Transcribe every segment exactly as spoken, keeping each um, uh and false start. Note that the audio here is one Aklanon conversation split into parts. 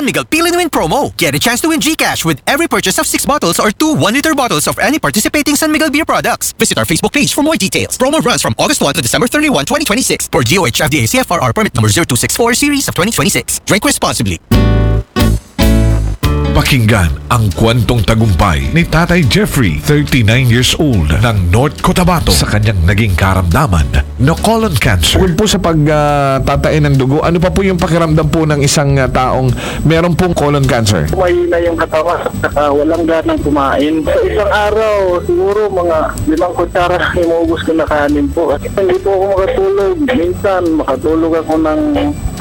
Miguel P Lin Win promo. Get a chance to win GCash with every purchase of six bottles or two one-liter bottles of any participating San Miguel beer products. Visit our Facebook page for more details. Promo runs from August first to December thirty-first, twenty twenty-six. Per D O H F D A C F R R permit number zero two six four series of twenty twenty-six. Drink responsibly. Pakinggan ang kwentong tagumpay ni Tatay Jeffrey, thirty-nine years old, ng North Cotabato sa kanyang naging karamdaman na colon cancer. Bukod po sa pagtatain ng dugo, ano pa po yung pakiramdam po ng isang ah, taong meron pong colon cancer? Mahina yung katawan, saka walang ganang kumain. Sa isang araw, siguro mga limang kutsara lang yung maubos ko na kanin po. Kasi hindi po ako makatulog. Minsan, makatulog ako ng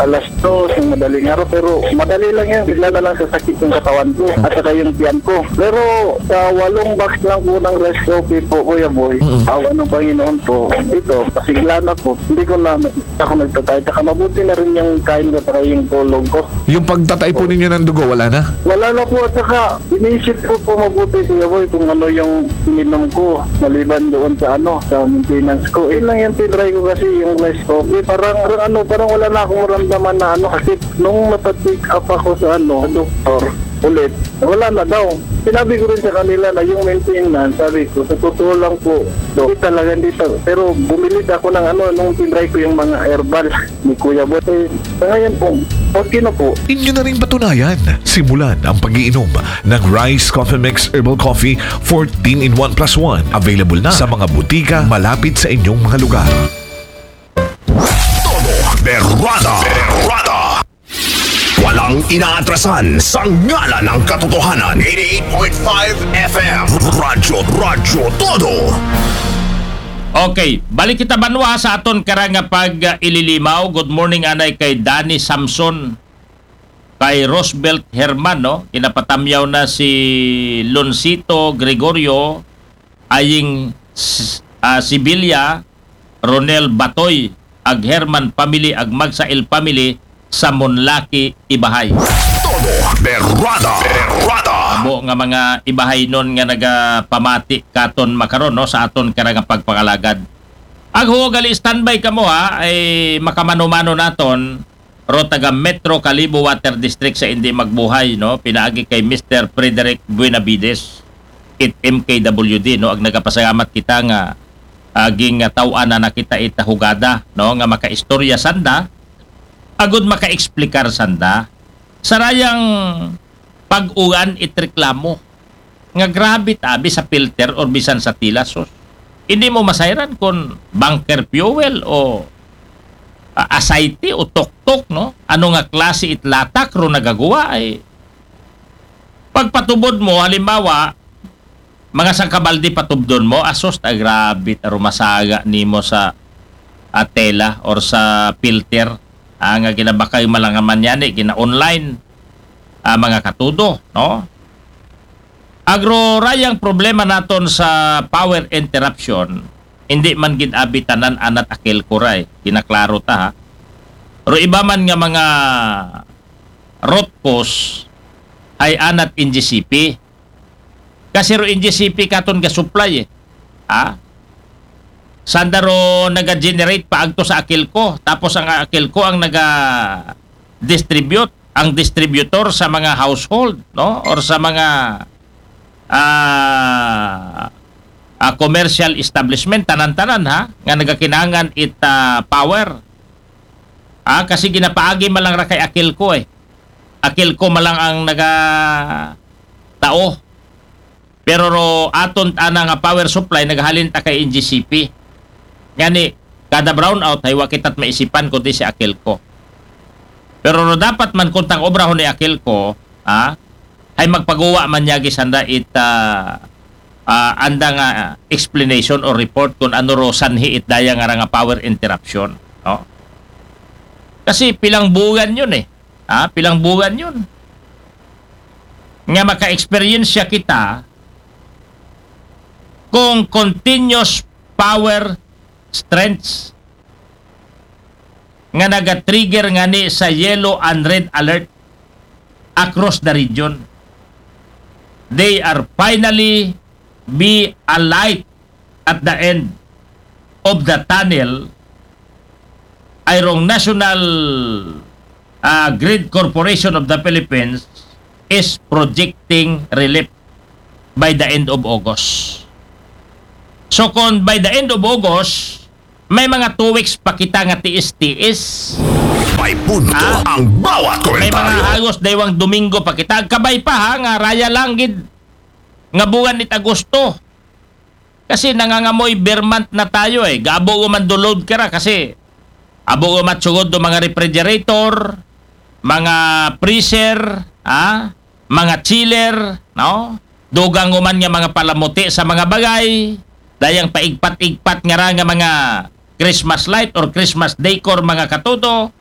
alas dos ng madaling araw. Pero madali lang yan. Bigla na lang sasakit yung katawan ko at saka yung tiyan ko. Pero sa walong box lang po ng rice coffee po, Kuya Boy, awa ng Panginoon po, ito, pasigla na po. Hindi ko na ako nagtatay. Saka mabuti na rin yung kain ko saka yung tulog ko. Yung pagtatay po ninyo ng dugo, wala na? Wala na po at saka inisip ko po mabuti, Kuya Boy, kung ano yung ininom ko maliban doon sa ano, sa maintenance ko. Yun lang yung tinry ko kasi yung rice coffee. Parang, parang ano, parang wala na akong maramdaman na ano kasi nung napa-check up ako sa ano, sa doktor ulit, wala na daw. Sinabi ko rin sa kanila na yung maintenance, sabi ko, sa totoo lang po, hindi talaga, hindi talaga. Pero bumili ako ng ano, nung tinry ko yung mga herbal ni Kuya Boy. Eh, sa ngayon po, okay na po. Inyo na ring patunayan. Simulan ang pag-iinom ng Rice Coffee Mix Herbal Coffee fourteen in one plus one. Available na sa mga butika malapit sa inyong mga lugar. Todo Berrada. Berrada. Walang inaatrasan sa ngalan ng katotohanan. Eighty-eight point five F M. Radyo, Radyo Todo. Okay, balik kita banwa sa aton karang nga pag-ililimaw. Good morning anay kay Danny Samson, kay Roosevelt Herman, no? Kinapatamyaw na si Lonsito Gregorio, Aying S- ah, Sibilia, Ronel Batoy, ag Herman family, ag Magsail family sa Monlaki, Ibahay. Todo Berrada. Berrada. Amo nga mga Ibahaynon nga nagapamati katon makaron, no, sa aton karang nga pagpangalagad. Ag huo gali, standby kamo ha, ay makamano-mano naton ro taga Metro Kalibo Water District sa Indi Magbuhay, no, pinaagi kay Mister Frederick Buenavides, it M K W D, no, ag nagapasalamat kita nga aging nga taw-an na nakita ita hugada, no, nga makaistorya sanda agud makaexplikar sanda sa rayang pag-uwan it reklamo nga grabe tabi sa filter or bisan sa tila, sus. Hindi mo masayran kung bunker fuel o ah, asayti o tuktok, no? Ano nga klase it latak ro nagagawa ay pagpatubod mo, halimbawa, mga sangkabaldi patubdon mo, asos ta grabe ta rumasaga nimo sa ah, tela or sa filter, ah, nga ginabakay malangaman yani, gina-online, ah, mga katudo, no? Agro rayang problema naton sa power interruption, hindi man gid abi tanan anat akil kuray, ginaklaro ta ha. Pero iba man nga mga root cause ay anat N G C P. Kasi ro N G C P katon ga-supply eh. Ha? Sanda ro naga-generate paagto sa Aquilco, tapos ang Aquilco ang naga-distribute, ang distributor sa mga household, no? Or sa mga ah, ah, commercial establishment, tanan-tanan ha, nga nagakinangan it ah, power. Ah, kasi ginapaagi man lang ra kay Aquilco eh. Aquilco man lang ang naga tao. Pero ro aton ana nga power supply nagahalin ta kay N G C P. Ngani kada brownout hay wa kita't maisipan kundi si Aquilco. Pero ro dapat man kuntang obrahon ni Aquilco, ha? Hay magpaguwa man niya gisanda it ah, ah, anda nga ah, explanation or report kung ano ro sanhi it daya nga ra nga power interruption, no? Kasi pilang buwan yun eh. Ha? Pilang buwan yun. Nga maka-experience kita kung continuous power strengths nga naga-trigger ngani sa yellow and red alert across the region. They are finally be a light at the end of the tunnel, ay rong national ah, Grid Corporation of the Philippines is projecting relief by the end of August. So kung by the end of August, may mga two weeks pa kita nga tiis-tiis. May punto Ha? ang bawat May mga komentaryo. halos daywang Domingo pa kita. Kabay pa ha, nga raya lang gid nga buwan nit Agosto. Kasi nangangamoy beer month na tayo eh. Gaabo ko man do load ka ra kasi abo ko matsugod do mga refrigerator, mga freezer, ha? Mga chiller, no? Dugang ko man nga mga palamuti sa mga bagay, dayang paigpat-igpat nga ra nga mga Christmas light or Christmas decor, mga katodo.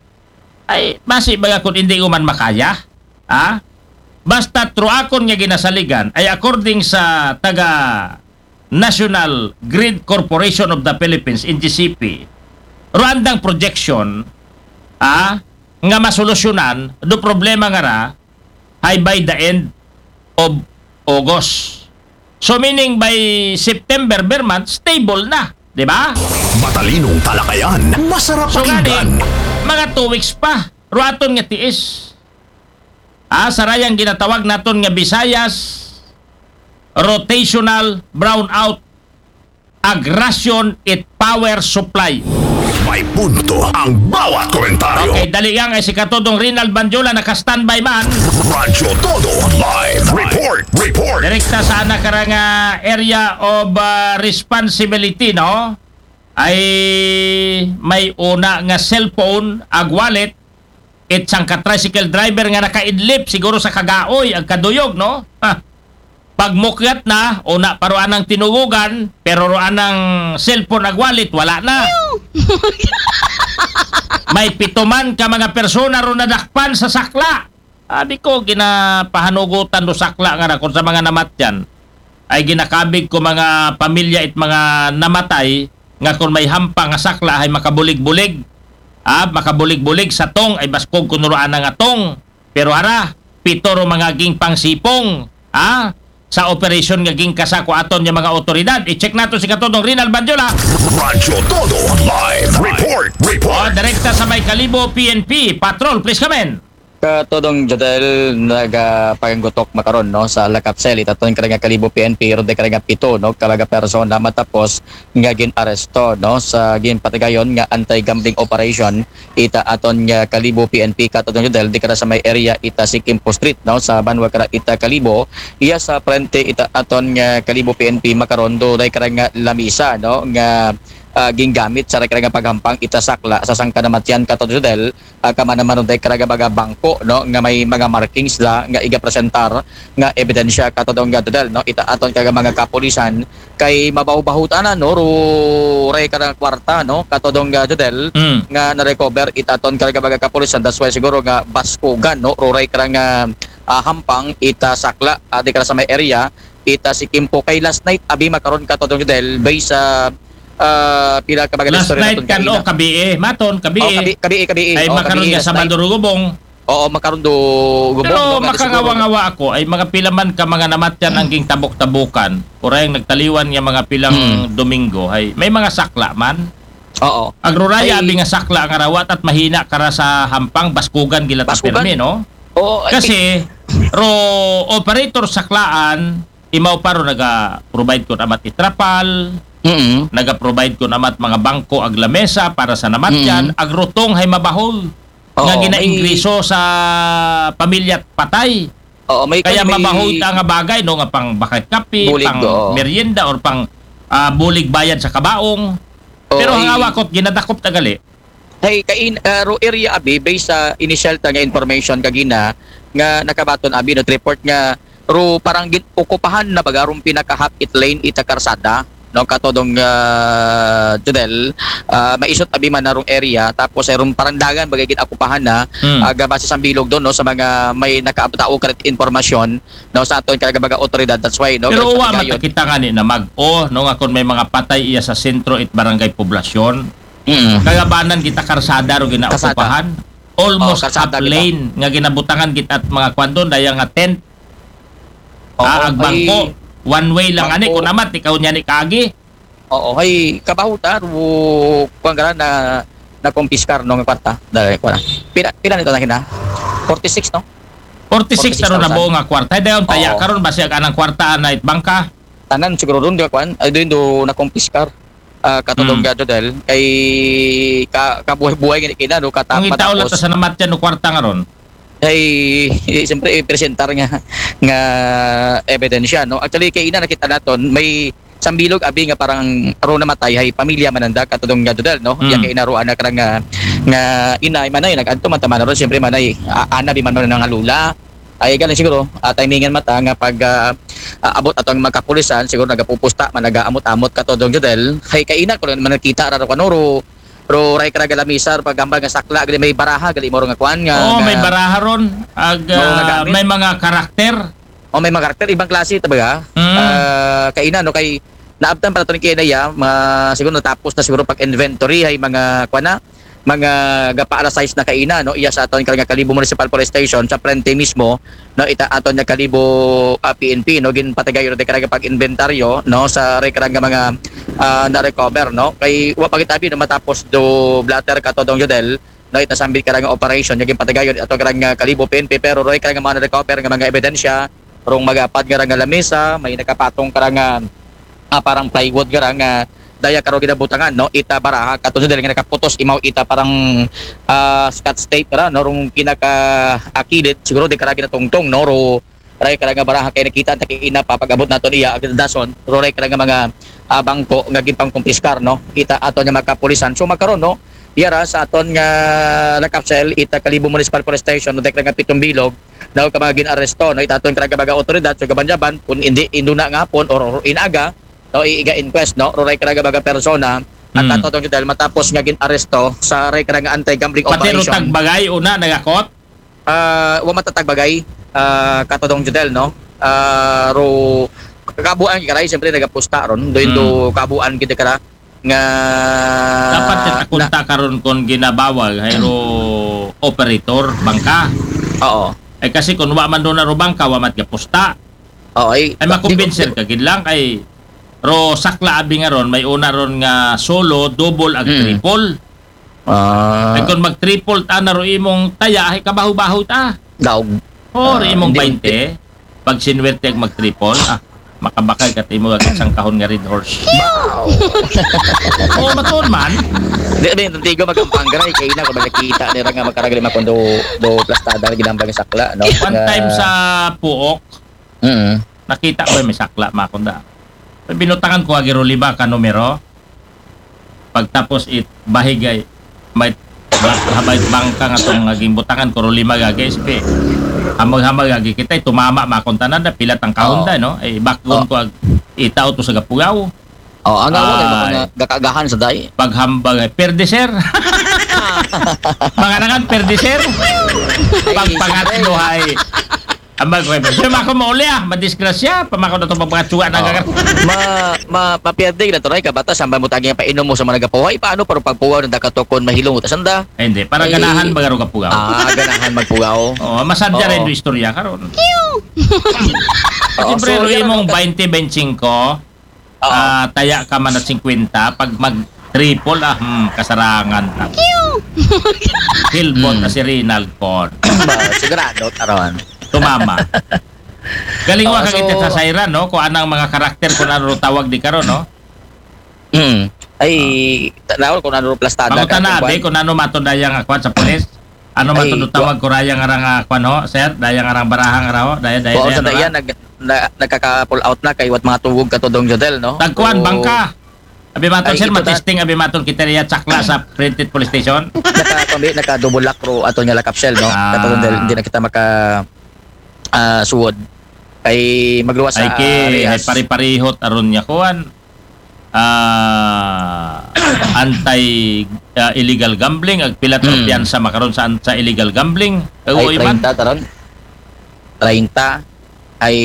Ay, basi baga kung hindi ko man makaya, ha? Basta truakon nga ginasaligan ay according sa taga National Grid Corporation of the Philippines, N G C P, ruandang projection, ha, nga masolusyonan do problema nga ra hay by the end of August. So meaning by September, ber month, stable na, di ba? Matalinong talakayan, masarap So nga pakinggan. Mga two weeks pa, ruaton nga tiis. Ah, sa rayang ginatawag naton nga Visayas rotational brownout, aggression it power supply. May punto ang bawat komentaryo. Okay, dali lang ay si Katodong Rinald Banjola naka-standby man. Radyo Todo Live Report. Report. Direkta sa anak karang area of uh, responsibility, no? Ay may una nga cellphone, ag wallet, it sangka tricycle driver nga nakaidlip siguro sa kagaoy ag kaduyog, no? Ha. Pagmukyat na, una pa ro anang tinugugan, pero ro anang cellphone ag wallet, wala na. May pito man ka mga persona ro nadakpan sa sakla. Abi ko, ginapahanugutan do sakla nga ra kung sa mga namatyan. Ay ginakabig ko mga pamilya it mga namatay, nga kung may hampang nga sakla ay makabulig-bulig. Ah, makabulig-bulig sa tong ay baskog kuno ro ana nga tong. Pero ara, pito ro mga gingpangsipong, ah, sa operasyon nga gingkasako aton nga mga otoridad. I-check nato si Katodong Rinald Banjola. Radyo Todo Live Report. Oh, Report. direkta sa may Kalibo P N P Patrol. Please come in. Katodong Jodel, nagapanggutok makaron, no, sa lakap cell it aton karang Kalibo P N P, ron day karang pito, no, ka mga persona matapos nga gin-aresto, no, sa ginpatigayon nga anti-gambling operation ita aton nga Kalibo P N P, Katodong Jodel, di kara sa may area ita si Kimpo Street, no, sa banwa kara ita Kalibo, iya sa frente ita aton nga Kalibo P N P makaron, do day karang lamisa, no, nga ah, gingamit sa karang paghampang ita sakla sa sangka namatyan, Katodong Jodel, ah, kama naman ron day karang mga bangko, no, nga may mga markings la nga igapresentar nga ebidensya, Katodong Jodel, no, ita aton karang mga kapulisan kay mabaho-baho tana, no, ruray karang kwarta, no, Katodong Jodel, Mm. nga na-recover ita aton karang mga kapulisan. That's why siguro nga baskugan, no, ruray karang ah, ah, hampang ita sakla, ah, di kara sa may area ita si Kimpo kay last night abi makaron, Katodong Jodel, based sa ah, pila ka mga Last istorya night naton kan kaina. O, kabiye, maton, kabiye. Oh, kabi, kabi, kabi. Ay Oh, makaron kabi, nga last Sabado night. Rugubong. Oo, makaron do gubong, Pero no, nga siguro. makangawa-ngawa ako ay mga pila man ka mga namatyan ang gingtabok-tabukan. Kuray ang nagtaliwan nga mga pilang Hmm. Domingo ay may mga sakla man. Oo. Agruraya Ay. Abi nga sakla nga rawat at mahina kara sa hampang baskugan gila ta Baskugan. Permi, no? Oo, ay, Kasi ro operator saklaan imaw pa ro naga-provide ko namat itrapal, mm. naga-provide ko namat mga bangko ag lamesa para sa namatyan, Mm. agrutong hay mabahol Oo, nga may ginaingreso sa pamilya at patay. Oo, may Kaya may mabahol ta nga bagay, no, nga pang bakit kape, Bulig, pang oo. merienda or pang ah, bulig bayad sa kabaong. Oo, Pero ay, ang awakot ginadakop tagali. Hey, kain uh, ro area abi, based sa initial ta nga information kagina nga nakabaton abi, no, report nga ro parang gin-okupahan na baga rong pinaka-half it lane ita karsada, no, Katodong uh, Jodel, uh, maisot abi man na rong area, tapos ay rong parang dagan bagay gin-okupahan na, Hmm. aga base sa bilog doon, no, sa mga may nakaabtao karit informasyon, no, sa aton karang mga otoridad. That's why, no, Pero karit uwa sa man Tigayon. Kita nga ni na mag-o, no, nga kung may mga patay iya sa sentro it barangay poblasyon, Mm. kagabanan kita karsada ro ginaokupahan. Almost Oh, karsada half kita. Lane nga ginabutangan kita at mga kwan doon, daya nga tent, Oo, ah, ag ay, bangko, one way lang ani, Bangko. Kung amat, ikaw niya ni kagi. Oo, hay kabaho ta, ru, kuwan ka na, nakumpiskar, no, nga kwarta. Dali, kuha na. Pila, pila nito na kina? Forty-six, no? Forty-six na ron na buo nga kwarta. Ay, dayon taya Oo. Karon, basi ang anang kwarta na it bangka. Tanan siguro ron, di ba, kuan? Ay, doon do nakumpiskar. Ah, katulong Hmm. nga, Jodel. Kay ka, kabuhay-buhay gani kina, no, Ang itaw lang katapos. Sa namatyan no kwarta nga ron. Ay, eh, siyempre, i-presentar nga, nga ebidensya, no? Actually, kay ina nakita naton, may sambilog abi nga parang aro namatay, hay pamilya mananda, katulong nga, Jodel, no? Hmm. Iya kay ina ro anak ra nga, nga ina, ay manay, nag-adto man ta man ron, siyempre, manay, a-, ana di man man nga lula. Ay, galing siguro, ah, timingan mata nga pag, ah, ah, abot ato ang magkapulisan, siguro nagapupusta man, nagaamot-amot, katulong, Jodel. Hay kay ina ko lang man nakita ra ro, kuno ro, ro ray karaga lamisar, pag hambal nga sakla, gali may baraha, gali mo ro nga kuan nga, Oo, nga may baraha ron. Ag, Oo, nga ah, gamit. May mga karakter. O, may mga karakter, ibang klase ta ba? Mm. Ah, kay ina, no, kay naabtan pa nato ni kay ina, ya, mga, siguro natapos na siguro pag-inventory, hay mga, kuan na, mga gapa alas sais na kay ina, no, iya sa aton kay nga Kalibo Municipal Police Station, sa frente mismo, no, ita aton nga Kalibo, ah, P N P, no, ginpatigayon nato kay pag-inventaryo, no, sa ray kay nga mga, ah, na-recover, no, kay wa pa gitabi, no, matapos do blotter, katulong, Jodel, no, ita sambit kay nga operation, nga ginpatigayon ato kay nga Kalibo P N P, pero ray kay nga mga na-recover nga mga ebidensya, rong magapad nga ra nga lamesa, may nakapatong kay nga, ah, parang plywood nga ra nga daya karo ginabutangan, no? Ita baraha, katulong, Jodel, nga nakaputos imaw ita parang, ah, scotch tape ra, no? Rong kinaka-akilid, siguro di kay ra ginatungtong, no? Ro ray kay nga baraha kay nakita ta kay ina pa pag-abot nato niya, agad dason, ro ray kay nga mga, ah, bangko nga ginpangkumpiskar, no? Ita aton nga magkapulisan. So, makaron, no? Iya ra sa aton nga nakapsel, ita Kalibo Municipal Police Station, no? Ray kay nga pitong bilog, no, ka mga gin-aresto, no, itaton kay nga mga otoridad sa kabanjaban, kung hindi, induna nga hapon or, or inaga, no, iiga inquest, no, ro ray kay nga mga persona, at Hmm. ato tong detail matapos nga gin-aresto sa ray kay nga anti-gambling Pati ro operation. Tagbagay, una, nagakot? Ah, wa matatagbagay, ah, katulong, Jodel, no? Ah, ro, kabuan kay karay, siyempre, nagapusta ron, do Hmm. kabuan kita kara, nga Dapat kita kunta karon kon ginabawal, hay ro operator, bangka. Oo. Ay, kasi kung wa man do na ro bangka, wa mat gapusta. Oo, ay, Ay, makumbinser ka gid lang kay ro sakla abi nga ron, may una ron nga solo, double, ag Mm. triple. Ah, Ay, kung mag-triple ta na ro imong taya, ay kabaho-baho ta. daog. O, Ah, ro imong hindi, baynte, pag sinwerte ag mag-triple, ah, makabakal ka timo ag isang kahon nga Red Horse. Oo, matuon man. Di, di, tantigo magampang garay, kay ina ko nakita nira nga makaragali makundo do plastada nga ginambal nga sakla, no? One Nga time sa Puok, Mm. nakita ko may sakla, makunda. Binutangan ko agi ro lima ka numero. Pagtapos it bahigay, may ba-, habay bangka nga tong naging butangan ko ro lima gagi, ispi. Hamag-hamag agi kita, tumama, makunta na da, pilat ang kahon da, no? Ay, bakgon ko ag itaw to sa gapugaw. Oh, ang awag ay baka Ay. nga gakagahan sa day. Paghambag ay, perde, sir. Mga nangan, perde, sir. Pagpangatlo ay, ambag ko ay, sir, mako mauli ah, madisgrasya, pamako na itong mga tsuwa na gagar. Ma, ma, mapierde na to, Ray, kabata, sambal mo tagi ang painom mo sa mga nagapuhay. Paano para pagpuwaw ng dakatukon mahilong utas anda? Ay, hindi, para Ay. Ganahan baga ro kapugaw. Ah, ganahan magpugaw. Oo, masadya rin Oo. Yung istorya karon. Oo, Siyempre, so, ro yan imong ang- twenty twenty-five, Oo. ah, taya ka man at fifty, pag mag-triple, ah, hmm, kasarangan na. Hilbot Hmm. na si Rinald Con. Ba, sigurado, karon. Tumama. Galing Oo, wa ka so- kita sa Sairan, no? Kung anang mga karakter, kung ano tawag di karon, no? Hmm. Ay, ta-, nawal kung ano plastada Ako tana, kung abi, kwan. Kung ano mato daya nga kwan sa pulis? Ano Ay, mato do tawag ko raya nga ra nga kwan, ho, sir? Daya nga rang baraha nga ra, ho? Daya, daya, Oo, daya sa nga ra? daya, nag-, na, nagkaka-pull out na kay wat mga tuwog ka to, Dong Jodel, no? Tagkuan, So, bangka. Abi maton, Ay, sir, ito ta- matesting, abi maton, kita niya, tsakla sa printed police station. Naka, kami, naka-double lock ro ato niya lakapsel, no? Ah. Katulad dahil hindi na kita maka, ah, suwod. Ay, magluwas Ay, sa ki, ay, Arias. pari-parihot, aron niya, kuan. Ah, anti, ah, illegal gambling, ag pilat Hmm. piyansa makaron sa, sa illegal gambling. Kag Ay, uy man. treinta, taron. Treinta. Ay,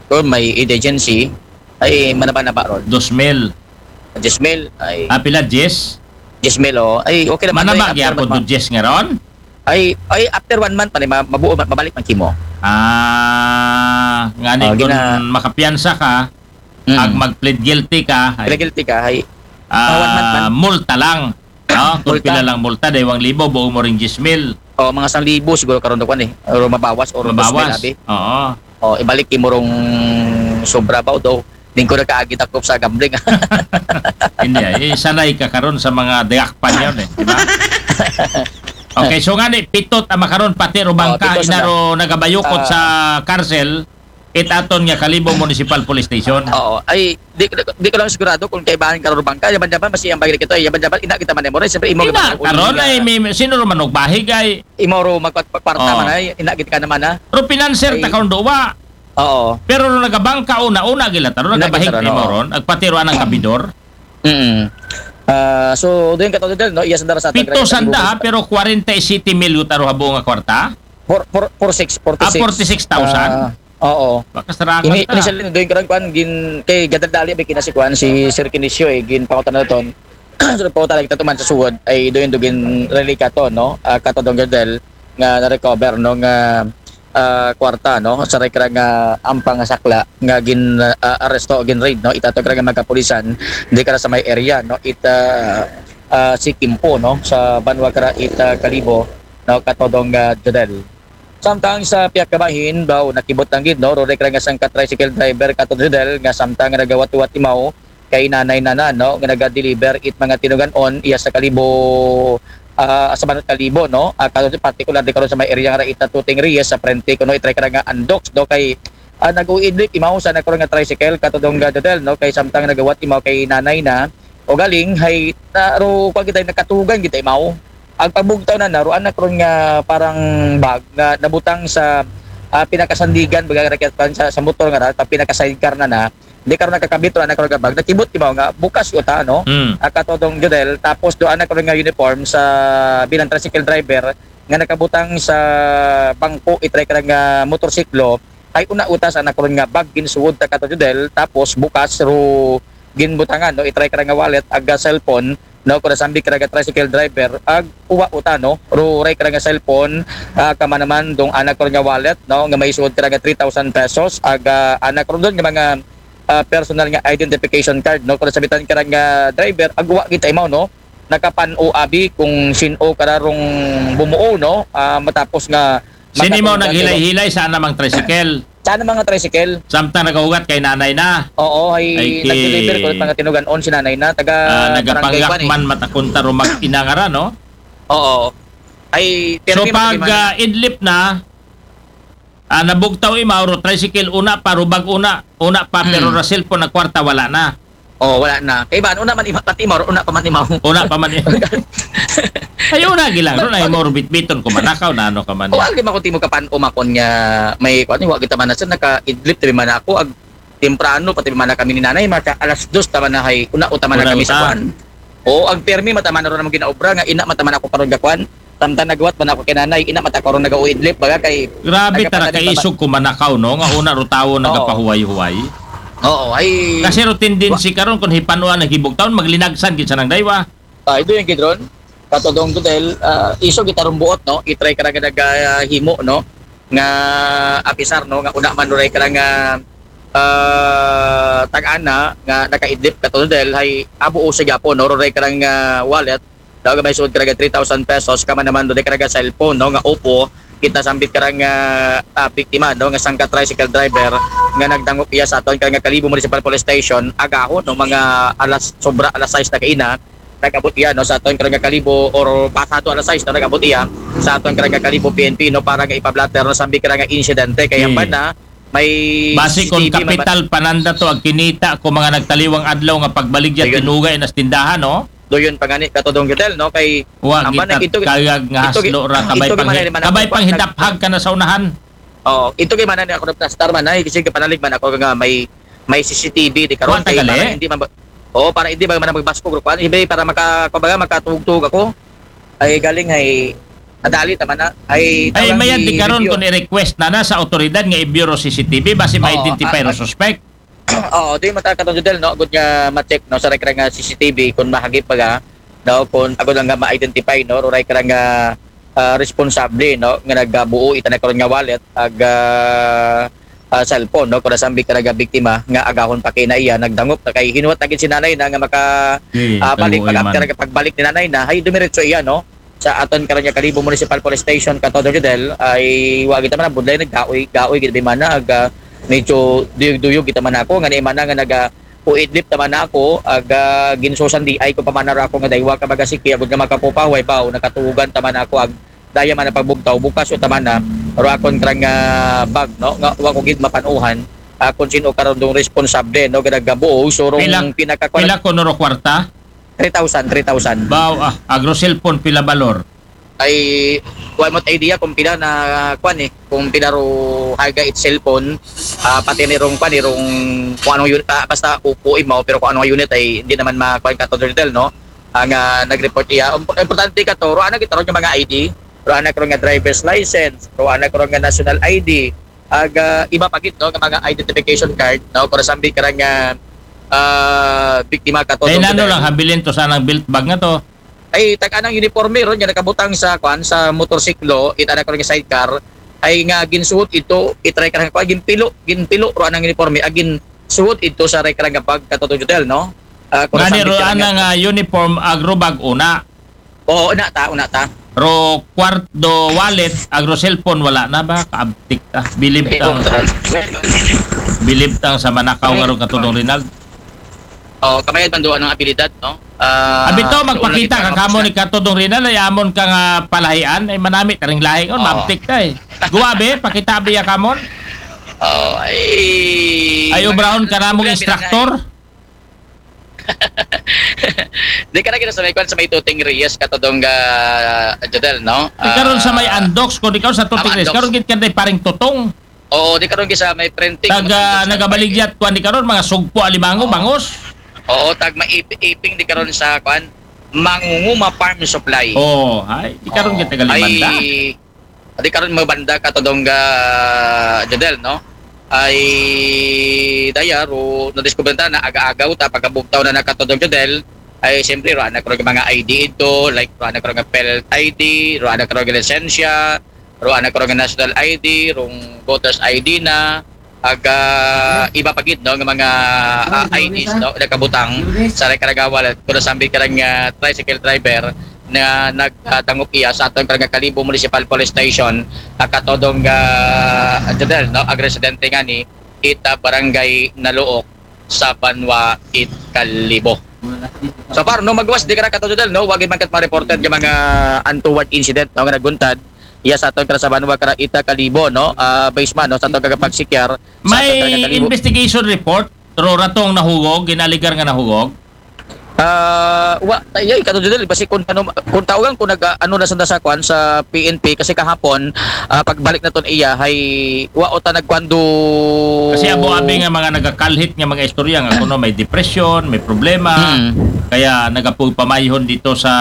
kung may indigency, ay, manaba-naba ron. Dos mil. Diyes mil, ay, Ah, pila, diyes? diyes mil, oh. Ay, okay naman. Manaba Ay, gyapon after do diyes nga ron? Ay, ay, after one month pa ni, ma-, mabuo, ma-, mabalik man kimo. Ah, ngani Ah, kung gina- makapiyansa ka, Mm. ag mag-plead guilty ka, ay, Pila guilty ka, ay, ah, ah, one month man. Multa lang. Ah, kung Multa. Pila lang multa, daywang libo, buong mo ring diyes mil. O, mga sang libo siguro karon daw kwan eh. Or mabawas, or dos mil Mabawas. Abi. Oo. O, ibalik imo rong sobra ba o daw. Di ko nakaagi takop sa gambling. Hindi, eh, sanay ka karon sa mga dayakpan yun eh, di ba? Okay, so nga ni, pitot ang makaron, pati ro bangka, pito sa inaro nagabayukot Ah. sa karsel, it aton nga Kalibo Municipal Police Station. Oo. Ay, di, di, di ko lang sigurado kung kaibahan ka ro bangka. Yaman-yaman, mas iyang bagay kita. Yaman-yaman, ina kita man mo. Siyempre, imo Ina, man, karon uli ay, ka. May, sino ro manugbahi kay, Imo ro magkwarta Oo. man ay, ina kita naman ha. Ro pinanser ta Ay. Karon duwa. Oo. Pero ro nagabangka una, una gila ta ro, Una nagabahig gila ta ro, imo oo. ron, agpati ro anang kabidor. Mm. Ah, so, doon ka to, no? Iya, sandara sa Pito sanda, ha, pero kwarenta y siyete mil yuta ro habo nga kwarta. For, for, for six, forty-six. Ah, forty-six thousand? Ah, oo. Baka sarangan Ini, ta. Initially, doon ka rin, kwan, gin, kay gadadali, may kinasi, kwan, si Sir Kinisio, eh, gin pangutan na ton. So, pauta lang kita tuman sa suwod, ay doon, doon, gin relika to, no? Ah, katodong gadal, nga na-recover, no? Nga, ah, kwarta, no? Sa rekra nga ampang nga sakla, nga gin, ah, aresto, gin raid, no? Itato kra nga magkapulisan, di kra sa may area, no? Ita, ah, si Kimpo, no? Sa banwa kra, ita Kalibo, no? Katodong, ah, Jodel. Samtang sa pihak kabahin, daw nakibot lang gid, no? Rurek ra nga sangka tricycle driver kato Jodel nga samtang nga nagawat-uwat imaw kay nanay nana, no? Nga naga-deliver it mga tinugan-on iya sa Kalibo, ah, sa Banat Kalibo, no? Ah, kato particular di karon sa may area nga ita Tuting Reyes sa Frente kuno itry ka nga Andox, no? Kay ah, nag-uidlip imaw sa nakuro nga tricycle kato dong Jodel, no? Kay samtang nagawat imaw kay nanay na o galing hay na ro kwa kita nakatugan kita imaw. Ang pagbugtaw na na, ro anak ron nga parang bag nga nabutang sa ah, pinakasandigan, baga rakyat sa, sa motor nga ra, ta pinaka-sidecar na na, di karon nakakabit ro anak ron nga bag, nakibot imaw nga bukas uta, no? Hmm. Ah, katodong Jodel, tapos do anak ron nga uniform sa bilang tricycle driver nga nakabutang sa bangko itry ka nga motorsiklo, ay una uta sa anak ron nga bag ginsuod ta kato Jodel, tapos bukas ro ginbutangan, no? Itry ka nga wallet, aga cellphone, no? Kung nasambit ka nga tricycle driver, ag uwa uta, no? Ro ray ka nga cellphone, ah, kamanaman dong anak ron nga wallet, no? Nga may suod ka nga three thousand pesos, aga anak ron dong nga mga ah, personal nga identification card, no? Kung nasambitan ka nga driver, ag uwa kita imaw, no? Nakapan-o abi kung sin-o ka ra rong bumuo, no? Ah, matapos nga Sino imaw makatunggan, naghilay-hilay sa anamang tricycle? Sa anamang tricycle. Samtang nagahugat kay nanay na. Oo, ay, Ay, ki- nag-deliver ko mga tinugan-on si nanay na, taga Ah, Barangay Kwan, eh. Nagapanggakman matakon ta ro mag-inangara, no? Oo. Ay, So pirmi pag man. ah, idlip na, ah, nabugtaw imaw ro tricycle, una pa, ro bag una, una pa, pero Hmm. ra cellphone na kwarta, wala na. Oh, wala na. Kay ba, una man ima, pati imaw, una pa man imaw. Una pa man i-, ay, una gilang ron, ay mo bitbiton ko manakaw na ano ka man. O, agi man ko timo kapan umakon nga may, kuwan, wa kita man na, sir, naka-idlip tabi man ako, ag temprano, pati man na kami ni nanay, maka alas dos taman na hay, una, utaman na Una, kami sa uta. Kuwan. O, ag permi, mataman na ron ang ginaobra, nga ina, mataman ako karon gakuan. Samtang nagwat man ako kay nanay, ina, mata karon nag-uidlip, baga kay Grabe, tara nagkapatid pa ba? Kaisog ko manakaw, no? Nga una ro tawo Oo. nagapahuway-huway. Oo, ay, Kasi ro tendency karon kung hipanuan naghibugtaw, maglinagsan gid sa nang daywa. Ah, ito yung gidron. Katodong Dudel, ah, iso kita rong buot, no? Itry ka nga nagahimo, no? Nga apisar, no? Nga una man ray ka nga ah, tag-ana nga nakaidlip kato Dudel, hay abo o sigapo, no? Ray ka nga wallet, daw may suod ka nga three thousand pesos, kama naman ray ka nga cellphone, no? Nga Oppo, kita sambit ka nga ah, biktima, no? Nga sangka tricycle driver nga nagdangop iya sa aton ka nga Kalibo Municipal Police Station, agahon, no? Mga alas, sobra alas sais na kaina, nag-abot iya, no, sa aton karang Kalibo or pasado alas sais, no, nag-abot iya sa aton karang Kalibo P N P, no, para nga ipablatter, no, sambi karang insidente kay Hmm. ang banda may Basi kung C C T V, may ba- kapital pananda to ang kinita ko mga nagtaliwang adlaw nga pagbaligya Ayun. Tinugay nas tindahan, no? Doyon pa gani katodong Gudel, no, kay Wa ang banda kita ito gi- kayag nga ito gi- haslo ra, kabay ito gi pang manay man kabay ako, pang hidap-hag ka na sa unahan. Oh, ito kay manay ako naplastar man ay kasi kapanalig man ako nga may may C C T V di karon. Wa tagali? Para hindi man ba- Oo, para hindi ba man magbaskog ro kuan, ibe para maka kumbaga makatugtog ako. Ay galing ay adali tama na. Ay Ay, tawag mayad di ni karon Review. Kung i-request na na sa otoridad nga i-view ro C C T V basi Oo, ma-identify ah, ro suspect. Oo, di mata katong Judel, no, good nga ma-check, no, sa rekra nga C C T V kung mahagip pa ga, no, kung ako lang nga ma-identify, no, ruray ka nga ah, responsable, no, nga nagabuo ita na karon nga wallet, ag ah, ah, cellphone, no? Kung nasambit ka nga biktima nga agahon pa kay na iya, nagdangop na kay hinuwat na gid si nanay na nga maka, Di, ah, balik, taluoy pag man. after nga pagbalik ni nanay na, hay dumiretso iya, no? Sa aton karon nga Kalibo Municipal Police Station, Katodong Jodel, ay wa kita man budlay naggaoy, gaoy gid man na, ag, ah, medyo duyog-duyog kita man ako, nga ni man nga naga uidlip naman na ako, ag, ah, ginsusan di ay ko pamanaro ako nga daywa ka baga siki, agud nga makapupaway, baw, nakatugan taman ako, ag, daya man ang pagbugtaw, bukas o taman na, ro akon karang, ah, bag, no? Nga, wa ko gid mapanuhan, ah, kung sino karon dong responsable, no? Gada gabuo, so rong Pila, pinakakuan, pila ko noro kwarta? three thousand, three thousand. Baw, ah, agro cellphone, pila balor? Ay, wa mo't idea kung pila na, kuan eh, kung pila ro halaga it cellphone, ah, pati ni rong, kuan eh, rong, kung anong unit, ah, basta upo imaw, pero kung anong unit ay hindi naman makuan ka to, Dordel, no? Ang, ah, nag-report iya. Im-, importante ka to, ro anak ito ro nga mga I D, ro anak ro nga driver's license, ro anak ro nga national I D, ag, ah, iba pa gid, no, nga mga identification card, no? Kung nasambi ka nga, ah, biktima ka to, Ay, Dordel. Nano lang, habilin to sa nang belt bag nga to. Ay, tag-anang uniforme ron nga nakabutang sa, kuan, sa motorsiklo, it anak ko nga sidecar, ay nga ginsuot ito, itry ka nga, kuan, ginpilo, ginpilo ro anang uniforme, agin suot ito sa rekra nga pagkatotong Jodel, no? Ah, kung Ngani nasambit ro ka nga ana nga uniform, agro bag, una. Oo, una ta, una ta. Ro kwarto, wallet, agro cellphone, wala na ba? Kaabtik ta. Bilib tang, bilib tang sa manakaw nga ro Katodong Rinald. Oh, kamay man doon ang abilidad, no? Ah, Abi to, doon magpakita lang ka ito, kamo ni Katodong Rinald, ay amon ka nga palahian, ay manami taring lahi kon, Oo. Mabtik ta eh. Guwabe, pakita biya kamon. Oh, ay. Ay, obrahon ka namong Grabe na instructor. Di ka na gina sa may kwan sa may Tuting Reyes, Katodong, ah, Jodel, no? Di karon sa may Ah, Andox, kung di karon sa Tuting ah, Reyes, Andox. Karon gid ka day paring Tutong. Oo, di karon gid sa may printing. Taga nagabaligyat, kwan di karon, mga sugpo, alimango, Oo. Bangos. Oo, tag maiping di karon sa kwan, Mangunguma Farm Supply. Oh, ay, di karon Oo. Kita galimanda. Ay, di karon mabanda, Katodong, ah, Jodel, no? Ay, daya, ro, nadiskubre ta na aga-agaw ta, pagkabugtaw na na, Katodong Jodel, ay, siyempre, ro anak ro mga I D ito, like, ro anak ro nga PhilHealth I D, ro anak ro nga lisensya, ro anak ro nga national I D, rong voter's I D na, aga iba pa gid, no, nga mga, ah, I Ds, no, nakabutang sa rekarga wallet, kung nasambi ka nga tricycle driver na nagdangop iya sa aton karang Kalibo Municipal Police Station, ah, Katodong, ah, Jodel, no, ag residente nga ni ita barangay Naluok sa Banwa it Kalibo. So far, no, magwas di ka na, Katodong Jodel, no, wagi man kat ma-reported nga mga untoward incident, no, nga naguntad iya sa aton kara sa Banwa kara ita Kalibo, no, ah, base man, no, sa aton kagapagsikyar sa aton May kara Kalibo. Investigation report, ro ratong nahugog, ginaligar nga nahugog. Ah, wa, ay, Katodong Jodel, basi kung ano, kung tawgan, kung nag, ano na sa, sa kwan, sa P N P, kasi kahapon, ah, pagbalik naton iya, hay, wa o ta nagkwando. Kasi abo abi nga mga nagakalhit nga mga istorya nga kuno may depression, may problema, Mm. kaya nagapugpamayhon dito sa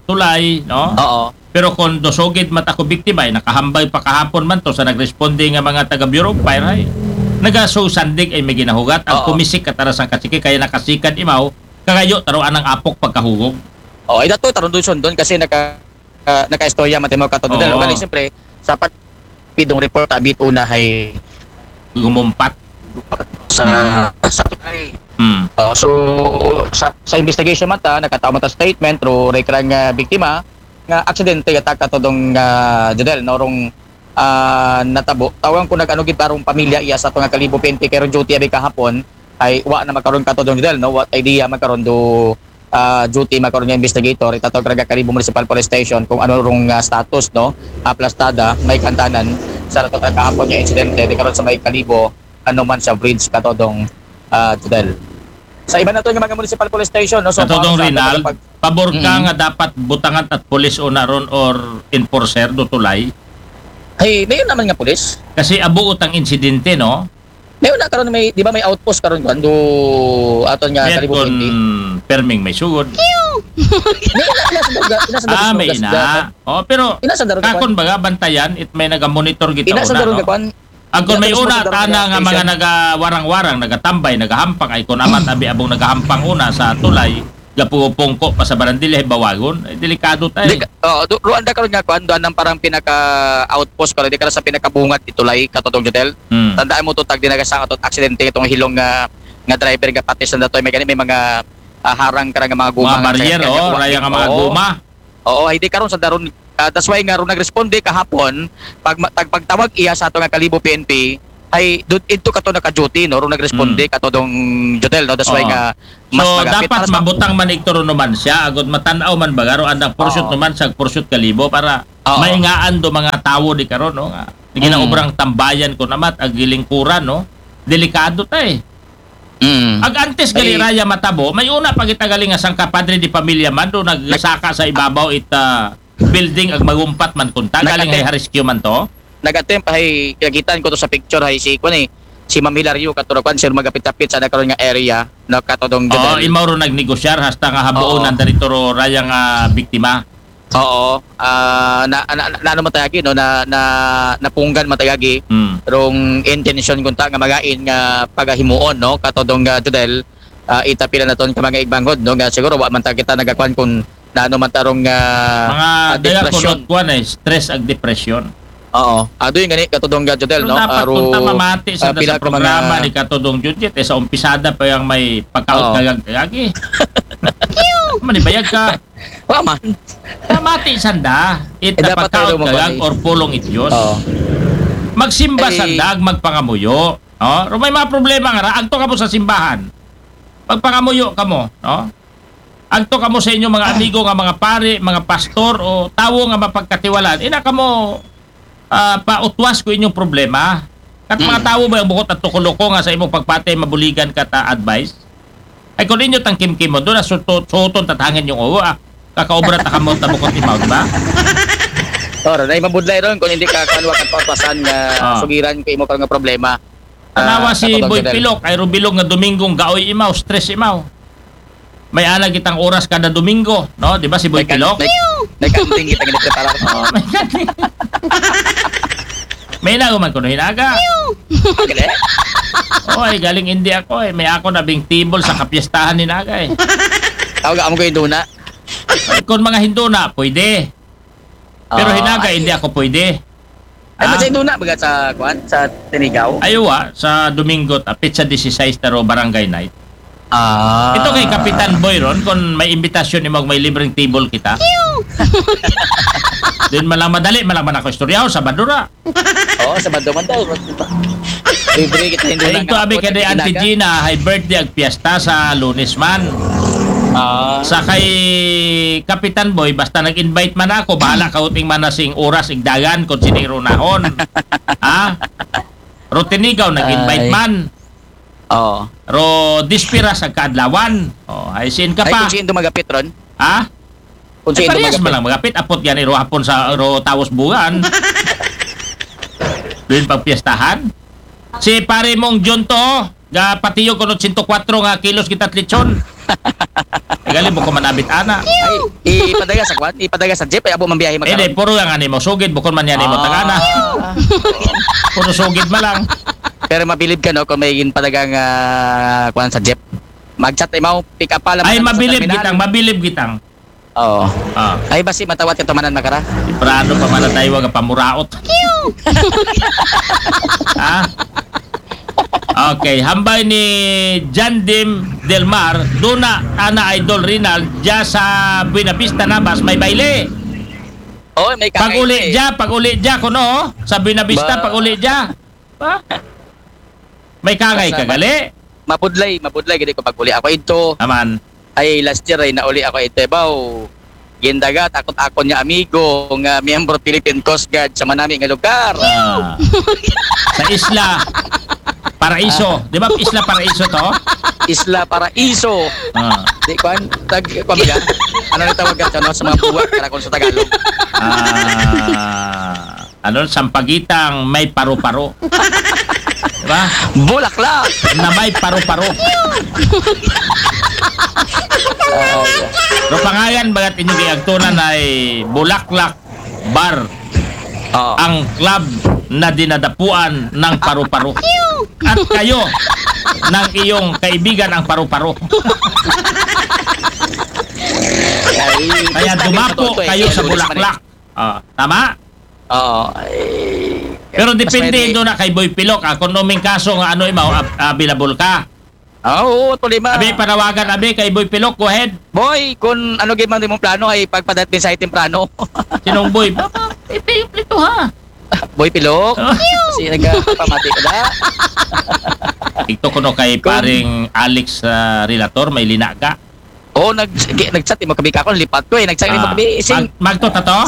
tulay, no? Oo. Pero kung dosogid man ta ko biktima, ay nakahambay pa kahapon man to sa nagresponde nga mga taga Bureau of Fire, ay nagaso sandig ay may ginahugat, ang Oo. kumisik kataras ang kasiki, kaya nakasikad imaw, kagayo taro anang apok pagkahugog. Oh, ay dato, tarong doon sundon kasi naka, ah, naka-istorya man timo, Katodong Jodel. Oo. Well, siyempre, sapat pidong report abit una hay Gumumpat. sa, sa tulay. Hmm. Oh, so, sa, sa investigation man ta, nakataw man ta statement, ro rekarang, ah, biktima, nga aksidente, attack, Katodong, ah, Jodel, no, rong, ah, natabo. Tawgan ko nag-ano gid, parang pamilya iya sa aton nga Kalibo P N P, kay rong duty abi kahapon, ay wa na magkaron, Katodong Jodel, no, what idea magkaron do, ah, duty magkaron nga investigator, itatawag ka Kalibo Municipal Police Station kung ano rong, ah, status, no, aplastada, may kantanan, sa rato kahapon nga insidente, di karon sa may Kalibo, ano man sa bridge, Katodong, ah, Jodel. Sa iba nato nga mga municipal police station, no? So, Katodong para sa Rinald, pag- pabor ka Mm. nga dapat butangan at pulis una ron or enforcer do tulay? Hey, may naman nga pulis. Kasi abo utang insidente, no? May una karon, may, di ba, may outpost karon kuan do aton nga Mayat Kalibo kung P N P? Perming may sugod. May ina, ina sa Dugga, ina sa Dugga, Ah, may Dugga, ina. Dugga. Oh, pero Ina sa Dugga, kakon baga bantayan, it may nagamonitor gito Ina sa una, Dugga, no? kuan. Ang kung may Ina sa una, Dugga, tana nga mga Station. nagawarang-warang, nagahampang, ay kung amat, abi abong nagahampang una sa tulay, gapupungko pa sa barandilya, bawagon. Eh, delikado tayo. Di ka, oh, do, ruan da karon nga kuan, doon ang parang pinaka-outpost karon, di ka sa pinakabungad ito lay, Katodong Jodel. Hmm. Tandaan mo to, tag dinagasang ato aksidente itong hilong nga, nga driver nga pati sa datoy, may gani, may mga, ah, harang ka nga mga guma. Mga nga barrier, kanya, oh, kanya, raya nga mga oo. Guma. Oo, hindi karon sa daron, ah, that's why nga ron nagresponde kahapon, pag ma-, tag-, pagtawag iya sa ato nga Kalibo P N P, ay, dun, ito ka to naka-duty, no? Ron nagresponde Mm. ka to dong Jotel, no? That's why Oo. nga, mas So, magapit. Dapat Para sa mabutang man igturo naman siya, agud matanaw man bagaro, andang pursuit Oo. Naman sa pursuit Kalibo para Oo. Maingaan do mga tawo di karon, no? Nga, di Mm. Ginaobrang tambayan ko namat, ag gilingkuran, no? Delikado tay. Mm. Ag antes gali Ay. Raya matabo, may una pa kita galing nga sangka padre di pamilya man do nagsaka sa ibabaw it, ah, building ag magumpat man kunta. Galing Nag-attempt. Hay rescue man to. Nag-attempt hay kagitan ko to sa picture hay si kuan eh, si Ma'am Hilario katuro kuan, sir, magapit-apit sa nakaroon nga area, no, katodong Oo, Jodel. Imaw ro nagnegosyar hasta nga habuon Oo. Ang darito ro raya nga biktima. Oo. Ah, na, na, na, ano matayagi, no? Na, na, napunggan matayagi. Hmm. Rong intention kunta nga magain nga pagahimuon, no? Katodong, ah, Jodel, ah, itapila naton ka mga igbanghod, no? Nga siguro wa man ta kita nagakuan kung naano man tarong, ah, mga ah, daya depression. Kunot kuan eh, stress ag depression. Oo. Ado yung gani, katodong, ah, Jodel, no? Pero dapat Aro, kung tama mati sa, ah, pila sa ka programa mga ni katodong Judget, eh, sa umpisada pa yung may pagkaot Oo. Kagag-kagagi. Manibayag ka. Wa man. Namati sanda, it Eh, dapat napakaon tayo ka lang magpapatay. Or pulong it Diyos. Oo. Magsimba Eh, sanda, ag magpangamuyo. Oh, pero may mga problema nga ra, agto kamo sa simbahan. Magpangamuyo kamo, no? Agto kamo sa inyong mga amigo nga mga pare, mga pastor o tawo nga mapagkatiwalaan. Ina kamo ah, pautwas ko inyong problema. Kat mga Mm. Tawo ba ang bukot at tukuloko nga sa imong pagpatay mabuligan ka ta advice? Ay kung inyo tang kimkimon, doon na suto-, suton tatangin yung uwa. Kakaobra ta kamo ta bukot imaw, di ba? Or, na mabudlay ron kung hindi ka kanwa kag pautwasan nga Ah. Sugiran ko imo ka nga problema. Tanawa Ah, si katulad Boy ka din. Pilok, ay rubilog nga Domingong gaoy imaw, stress imaw. May ana kitang oras kada Domingo, no? Di ba si Boy May kan-, Pilok? May, may kanting kita ginapreparar. Oh, may kanting. May inago man kuno hinaga. Agad eh? Oh, ay galing hindi ako eh. May ako na bing table sa kapiestahan hinaga eh. Tawag amo ko yung duna. Ay, kung mga Hinduna, pwede. Pero Ah, hinaga, ay. Hindi ako pwede. Ay, Ah. Masay duna, baga sa, kuan, sa Tinigaw? Ay, wa, sa Domingo, ta, petsa disisais taro barangay night. Ah. Ito kay Kapitan Boy ron, kung may imbitasyon ni mag may libreng table kita. Din man lang madali, man lang man ako istoryaho, Sabado ra. Oo, Sabado man daw. Libre kita, hindi Ay, na ito, nga abi ako, ka di Auntie hinaga. Gina, hay birthday ag piyesta sa Lunes man. Ah. Sa kay Kapitan Boy, basta nag-invite man ako, bahala ka uting man na sing oras, igdagan, kung sining runahon. Ha? Rotinigaw, nag-invite Ay. Man. Oo. Ro, dispira sa kaadlawan. Oh, ay, sin ka Ay, pa. Kung sino magapit ron? Ha? Kung Ay, sino parehas magapit? Man lang magapit. Apot yan, iro hapon sa, iro tawos buwan. Doon pagpiestahan. Si pare mong John to, ga patiyog kuno sento kwatro nga kilos kita lechon. Ay, galing mo ko manabit, ana. Ay, ipadaga sa kwan? Ipadaga sa jeep? Ay, abo man biyahe Eh, di, magkaroon? Puro yung ano mo, sugid, bukon man yan mo, Ah. Tagana. Puro sugid man lang. Pero mabilib ka, no, kung may ginpadagang, ah, kwan sa jeep. Mag-chat, imaw, pick up pala, Ay, man, sa mabilib terminal. Gitang, mabilib gitang. Oo. Ah. Ay, basi matawat ka tumanan makara? Prado pa man ang daywa nga pamuraot. Ha? Okay, hambay ni Jandim Del Mar, duna, ana Idol Rinald, dya sa Buena Vista Nabas, may baile. Oh, may Pag-uli kakain eh. Dya, pag-uli dya, kuno, sa Buena Vista, Ba- pag-uli dya. Ba? May kangay Basta ka, gali? Mabudlay, mabudlay, gani ko pag-uli ako ito. Aman. Ay, last year ay nauli ako ito, baw. Gindagat, akot-akon nga amigo, nga miyembro Philippine Coast Guard sa manami nga lugar. Ah. Sa Isla Paraiso. Ah. Di ba Isla Paraiso to? Isla Paraiso. Ah. Di, kwan, tag, kwan ba yan? Ano ang tawag ka, ano, sa mga buwak, karakon sa Tagalog? Ah. Ano, sampagitang may paru-paro. Diba? Bulaklak! Na may paru-paro. Pero pangayan, bagat inyong iagtunan ay Bulaklak Bar. Oo. Ang club na dinadapuan ng paru-paro. At kayo, ng iyong kaibigan ang paru-paro. Ay, Kaya dumapo kayo sa Bulaklak. Ah, tama? Oo. Ay, pero mas depende maigi. Doon na kay Boy Pilok, ah, kung numing kaso nga ano imaw, ab- available ka. Ah, oo, tuloy ma. Abi, panawagan, abi, kay Boy Pilok, go ahead. Boy, kung ano gyud man imong plano ay pagpadat din sa temprano. Sinong Boy? Papa, ipi-, iplito ha. Boy Pilok. Oh. Kasi nagpamati ka na. Ito ko no kay Kung paring Alex, ah, Relator, may linaga. Oo, nag, nag-chat mo kabi ka ako, lipat ko eh. Nag-chat mo Ah, kabi, sing. Mag, magto tato?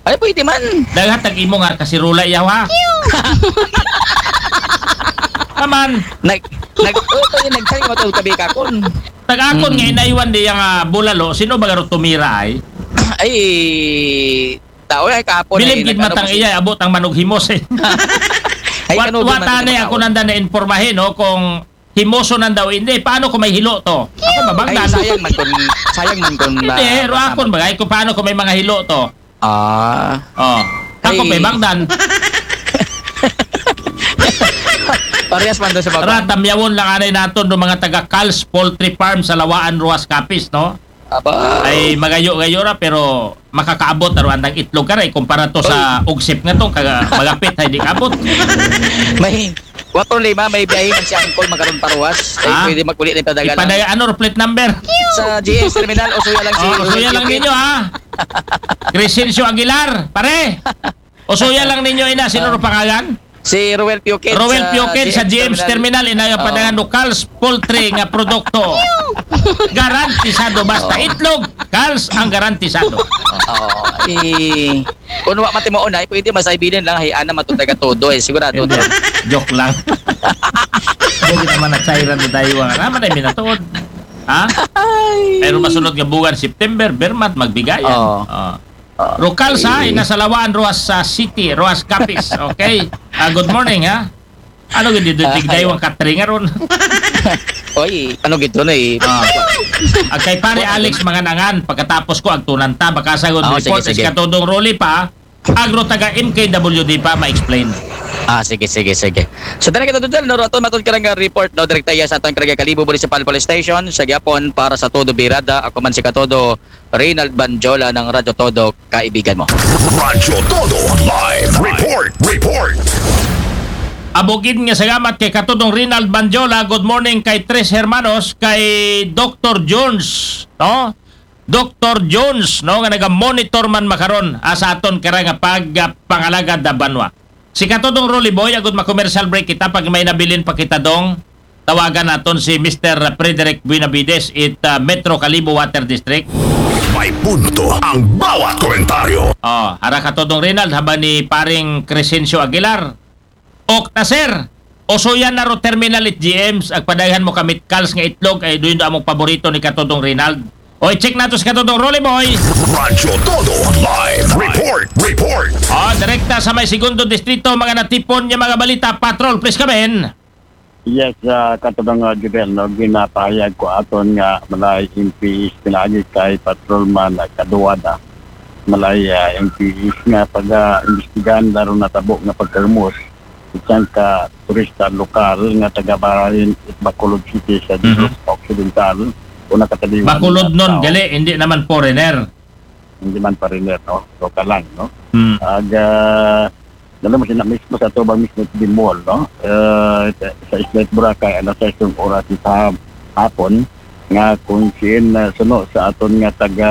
Ay, pwede man. Daghat tag imo nga kasirula yaw ha. Aman. Nag, nag, oh, pwede nag-chat mo to kabi ka ako. Tag akon nga inaywan di yang, ah, bulalo, sino ba garo tumira ay? Ay, tao ay kapon. Bilib ay gid nag-, ano matang kasi iya, abot ang manughimos eh. Ay, Wat-, kano di man wata ni ako nakaon. Nanda na informahin, no, kung himoso nan daw, hindi. Paano kung may hilo to? Ako Ay, mabangdan. Sayang man kun, sayang man kun Hindi, na-, ro akon bagay kung paano kung may mga hilo to. Ah. Oh. Ako Ay. May bangdan. Parehas man doon sa baba. Ra, damyawon lang anay naton do mga taga Cal's Poultry Farm sa Lawaan, Roxas, Capiz, no? Aba. Ay magayo-gayo ra, pero makakaabot na ro andang itlog ka ra, eh, kumpara to sa Uy. Ugsip nga to, kaga-, magapit, ay di kaabot. May, wato lima, may biyahe man si Angkol, makaroon paruwas. Ay, Ah? Pwede maguli na yung padagalan. Ipadala, ano, plate number? Sa G S terminal, o suya lang si Oh, Roel suya lang Duque. Ninyo, ha? Crescencio Aguilar, pare. O suya lang ninyo, ina, sino ro pangalan? Si Roel Piukit Roel sa Piukit sa G M G M terminal. Terminal, ina, yung Oo. Padangan do Cal's Poultry nga produkto. Garantisado, basta Oo. Itlog, Cal's ang garantisado. Oo. I, kung wa matimo unay, pwede masaybinan lang, hay, ana matod taga todo, eh, sigurado Hindi. To. Joke lang. Hindi naman nagsayran na tayo, ah. Naman ay minatuod. Ha? Ay. Pero masunod nga buwan, September, Bermat, magbigayan. Oo. Oo. Ah, Rocals, ha? Okay. Ina sa Lawaan, Roxas, ah, City, Roxas, Capiz. Okay? Ah, good morning, ha? Ano gid dito, Ah, tigday ayan. Wang katring aron. Oy, ano gid to na eh? Ah. Ag kay Pare Alex Manganangan, pagkatapos ko, agtunan ta, baka sa good Ah, report, sige, sige. Is katudong Rolly pa, agro taga M K W D pa, ma-explain. Ah, sige, sige, sige. So, dali kita tutal, no, ato matod karang report, no, direkta iya sa atong karang Kalibo Municipal Police Station, sa gyapon, para sa todo birada, ako man si Katodo, Reynald Banjola ng Radyo Todo, kaibigan mo. Radyo Todo Live Report. Report. Abogid nga salamat kay Katudong Reynald Banjola. Good morning kay Tres Hermanos, kay Doctor Jones, no? Doctor Jones, no, nga naga-monitor man makaron, ah, sa aton kara nga pag, ah, pangalagad na banwa. Si Katudong Rolly Boy, agud ma-commercial break kita, pag may nabilin pa kita dong, tawagan naton si Mister Frederick Buenavides, it, ah, Metro Kalibo Water District. May punto ang bawat komentaryo. Oh, ara Katudong Rinald, haba ni paring Crescencio Aguilar. Ok na, sir. Usuyan na ro terminal it G Ms, agpadayhan mo kamit Cal's nga itlog, ay duyon do among paborito ni Katudong Rinald. O, i-check nato si Katudong Rolly Boy. Radyo Todo Live Report. Report. Oh, direkta sa may segundo distrito, mga natipon niya mga balita. Patrol, please come in. Yes, ah, Katudong, ah, Jubel, no, ginapahayag ko aton nga malay M P Is pinaagi kay Patrolman, ah, Kaduwada. Malay, ah, M P Is nga pag, ah, imbestigahan laro natabo nga pagkarmos isang ka turista lokal nga taga Barin it Bacolod City sa Mhm. Negros Occidental o nakataliwan Bacolod na nun, tao. Gali, hindi naman foreigner. Hindi man foreigner, no? Lokal lang, no? Hmm. Ag, ah, dala mo siya na mismo sa tubang mismo di mall, no? Ah, sa Isla Boracay, alas sais ng oras sa hapon, nga kung siin na suno sa aton nga taga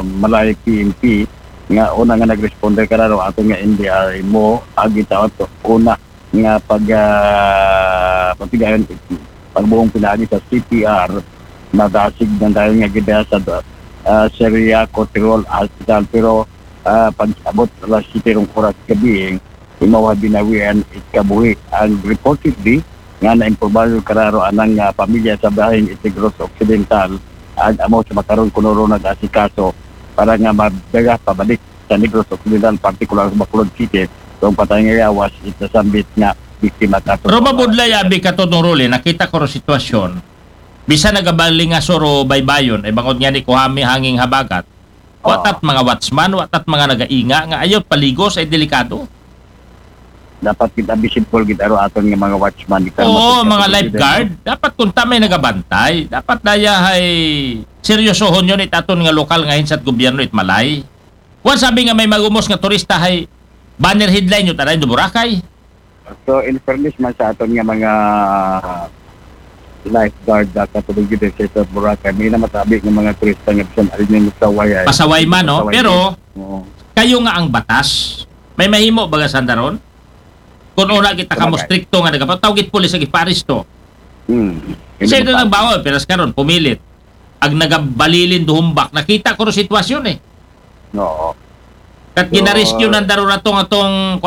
Malay P N P, nga una nga nag-responder ka na, no? Aton nga N D R M O, agi taon to, una nga pag, ah, pagtigayon, pagbuong pinaagi sa C P R, nadasig ng dahil nga gidaya sa, ah, Syria Coterol Hospital. Pero, ah, pag-abot alas siyete ng oras gabi, imaw binawian it kabuhi. Ang reportedly, nga naimpormahan kararo anang, ah, pamilya sa bahin it Negros Occidental, ag amo sa makaron kuno ro nag-asikaso para nga madaga pabalik sa Negros Occidental, partikular sa Bacolod City, kung patay nga yawas, it nasambit nga biktima kaso. Pero mabudlay, abi Katudong Rolly, nakita ko ro sitwasyon. Bisan nagabaling nga suro baybayon, ay bangod nga ni kuhami hanging habagat. Oo. Watat mga watchman, watat mga nagainga, nga ayaw paligos ay delikado. Dapat kita visible kita ro aton nga mga watchman, kita Oo, mapagkatulog mga kita, lifeguard, dapat kung tamay nagabantay, dapat daya hay seryosohon yun it aton nga lokal nga hinsat gobyerno it malay. Wan sabi nga may magumos nga turista hay banner headline yun taday do Boracay. So, in fairness man sa aton nga mga lifeguard, ah, katulog dito sa Boracay, may namatabi ng mga turista nga bisan alin yung saway ay. Pasaway man, no? Pasaway Pero, Oo. kayo nga ang batas, may mahimo baga sandaron? Kung una kita kamo Sabagay. Strikto nga nagapatawgit pulis ag iparis to. Hmm. Kasi ito nang bawal, pero karon pumilit. Ag nagabalilin duhumbak, nakita ko ro sitwasyon eh. Oo. Kat So, ginarescue nang daron atong atong